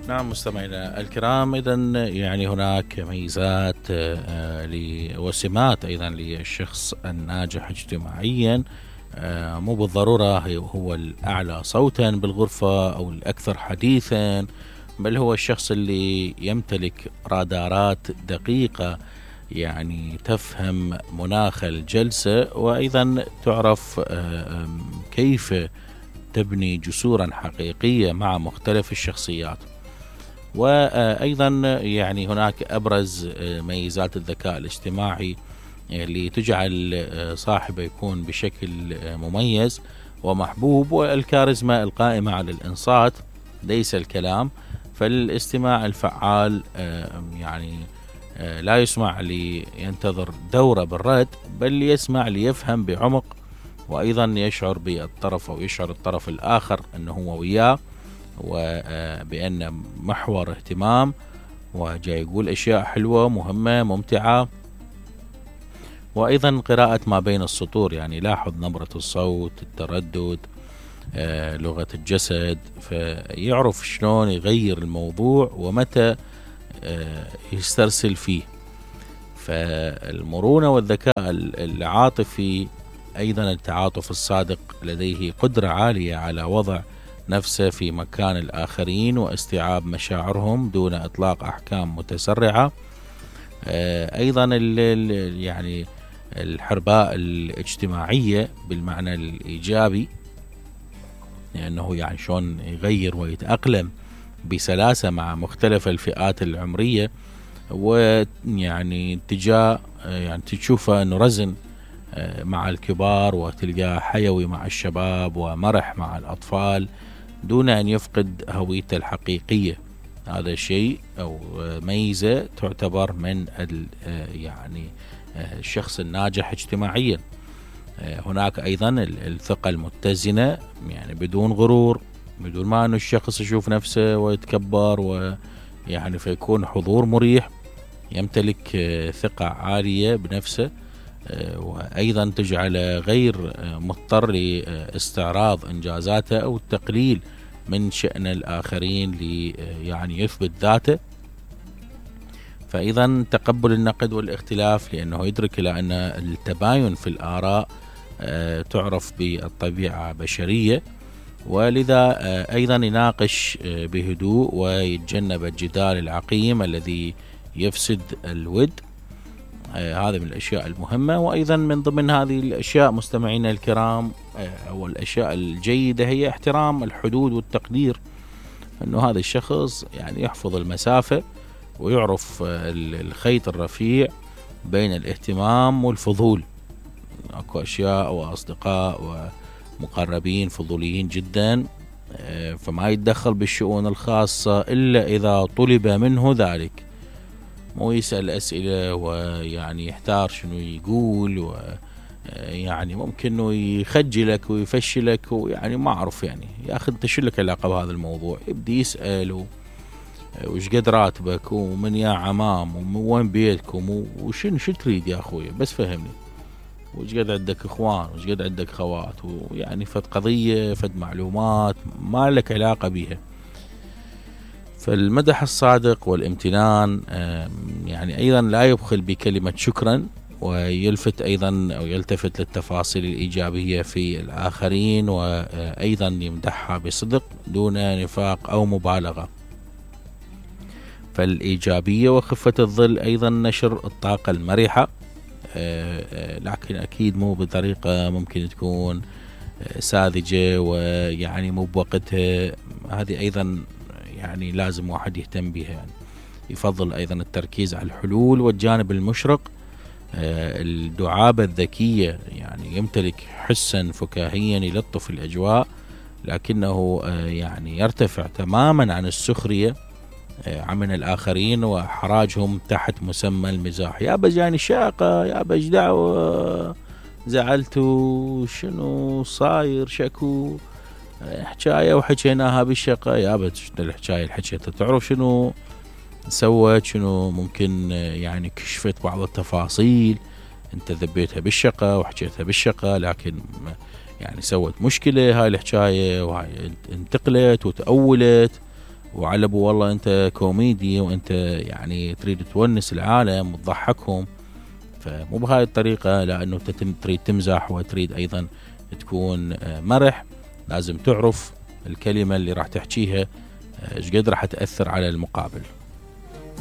نعم مستمعينا الكرام، إذا يعني هناك ميزات وسمات أيضا للشخص الناجح اجتماعيا. مو بالضرورة هو الأعلى صوتا بالغرفة أو الأكثر حديثا، بل هو الشخص اللي يمتلك رادارات دقيقة، يعني تفهم مناخ الجلسة، وأيضا تعرف كيف تبني جسورا حقيقية مع مختلف الشخصيات. وأيضا يعني هناك أبرز ميزات الذكاء الاجتماعي اللي تجعل صاحبه يكون بشكل مميز ومحبوب، والكاريزما القائمة على الإنصات ليس الكلام. فالاستماع الفعال يعني لا يسمع لينتظر دورة بالرد، بل يسمع ليفهم بعمق، وأيضا يشعر بالطرف أو يشعر الطرف الآخر أنه هو وياه وبأن محور اهتمام، وجاي يقول أشياء حلوة مهمة ممتعة. وأيضا قراءة ما بين السطور، يعني لاحظ نبرة الصوت، التردد، لغة الجسد، فيعرف شلون يغير الموضوع ومتى يسترسل فيه. فالمرونة والذكاء العاطفي، أيضا التعاطف الصادق، لديه قدرة عالية على وضع نفسه في مكان الآخرين واستيعاب مشاعرهم دون إطلاق أحكام متسرعة. أيضا يعني الحرباء الاجتماعية بالمعنى الإيجابي، لأنه يعني شلون يغير ويتأقلم بسلاسة مع مختلف الفئات العمرية، ويعني يعني تشوفه أنه رزن مع الكبار، وتلقاه حيوي مع الشباب ومرح مع الأطفال دون أن يفقد هويته الحقيقية. هذا شيء أو ميزة تعتبر من يعني الشخص الناجح اجتماعيا. هناك أيضا الثقة المتزنة، يعني بدون غرور، بدون ما أن الشخص يشوف نفسه ويتكبر، ويعني فيكون حضور مريح، يمتلك ثقة عالية بنفسه، وأيضا تجعل غير مضطر لاستعراض إنجازاته أو التقليل من شأن الآخرين يعني يثبت ذاته. فإذا تقبل النقد والاختلاف، لأنه يدرك إلى أن التباين في الآراء تعرف بالطبيعة بشرية، ولذا أيضا يناقش بهدوء ويتجنب الجدال العقيم الذي يفسد الود. هذا من الأشياء المهمة. وأيضا من ضمن هذه الأشياء مستمعينا الكرام أو الأشياء الجيدة هي احترام الحدود والتقدير، أنه هذا الشخص يعني يحفظ المسافة ويعرف الخيط الرفيع بين الاهتمام والفضول. أكو أشياء وأصدقاء ومقربين فضوليين جدا، فما يتدخل بالشؤون الخاصة إلا إذا طلب منه ذلك، مو يسأل أسئلة ويعني يحتار شنو يقول، ويعني ممكن إنه يخجلك ويفشلك، ويعني ما أعرف يعني يا أخي أنت شو لك علاقة بهذا الموضوع. يبدي يسأل وش قد راتبك، ومن يا عمام، وين بيتكم، شو تريد يا أخوي، بس فهمني، وش قد عندك إخوان، وش قد عندك خوات، ويعني فد قضية فد معلومات ما لك علاقة بيها. فالمدح الصادق والامتنان يعني أيضا لا يبخل بكلمة شكرا، ويلفت أيضا أو يلتفت للتفاصيل الإيجابية في الآخرين، وأيضا يمدحها بصدق دون نفاق أو مبالغة. فالإيجابية وخفة الظل، أيضا نشر الطاقة المرحة، لكن أكيد مو بطريقة ممكن تكون ساذجة ويعني مو بوقتها. هذه أيضا يعني لازم واحد يهتم بها. يعني يفضل أيضا التركيز على الحلول والجانب المشرق. الدعابة الذكية، يعني يمتلك حسا فكاهيا يلطف الأجواء، لكنه يعني يرتفع تماما عن السخرية من الآخرين وحراجهم تحت مسمى المزاح. يا بجاني شاقة، يا بج دعوة، زعلتوا، شنو صاير، شكو حكاية وحكيناها بالشقة، يا بج الحكاية اللي حكيتها، تعرف شنو سوت، شنو ممكن يعني كشفت بعض التفاصيل، انت ذبيتها بالشقة وحكيتها بالشقة، لكن يعني سوت مشكلة هاي الحكاية، وهاي انتقلت وتأولت، وعلى ابو والله انت كوميدي وانت يعني تريد تونس العالم وتضحكهم، فمو بهاي الطريقة، لانه تريد تمزح وتريد ايضا تكون مرح. لازم تعرف الكلمة اللي راح تحكيها ايش قد راح تأثر على المقابل.